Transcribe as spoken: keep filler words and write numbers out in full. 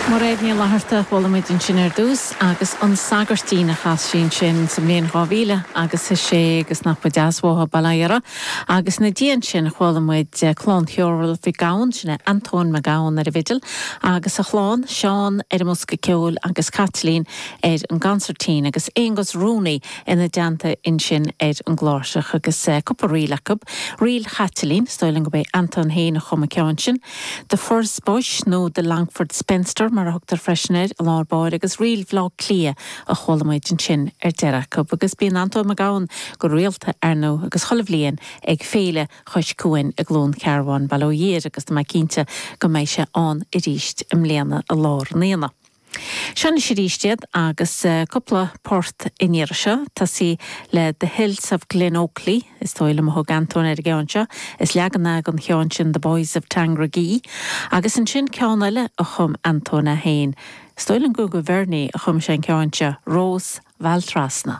Mairéad Ní Fhlatharta chuala muid ansin ar dtús agus an Sagairtín a chas sí ansin sa mbliain dhá mhíle agus a sé agus nach ba deas uathu bail ó Dhia orthu. Agus ina dhiaidh sin chuala muid clann Shiobhra Mhic Gabhann sin é Antóin Mac Gabhann ar an bhfidil agus a chlann Seán ar an mbosca ceoil agus Caitlín ar an gconsairtín agus Aengus Rooney ina dteannta ansin ar an gcláirseach agus cúpla ríl acu. Ríl Chaitlín is dóigh liom gurb é Antóin féin a chum an ceann sin. The Furze Bush nó The Longford Spinster mar a thugtar freisin air i lár báire agus Ríl Bhaile Átha Cliath a chuala muid ansin ar deireadh acu agus bíonn Antóin Mac Gabhann go rialta ar ndóigh agus chuile bhliain ag Féile Chois Cuain i gCluain Cearbán Bail ó Dhia air agus tá mé cinnte go mbeidh sé ann arís i mbliana i lár an aonaigh. Seo anois arís iad agus cúpla port an iarraidh seo tosaí le The Hills of Glen Oakley is dóigh liom a thug Antóin ar an gceann seo is leagan é den cheann sin The Boys of Tandragee agus ansin ceann eile a chum Antóin é féin. Is dóigh liom gur do Bhernie a chum sé an ceann seo Rós Bhéal Trasna.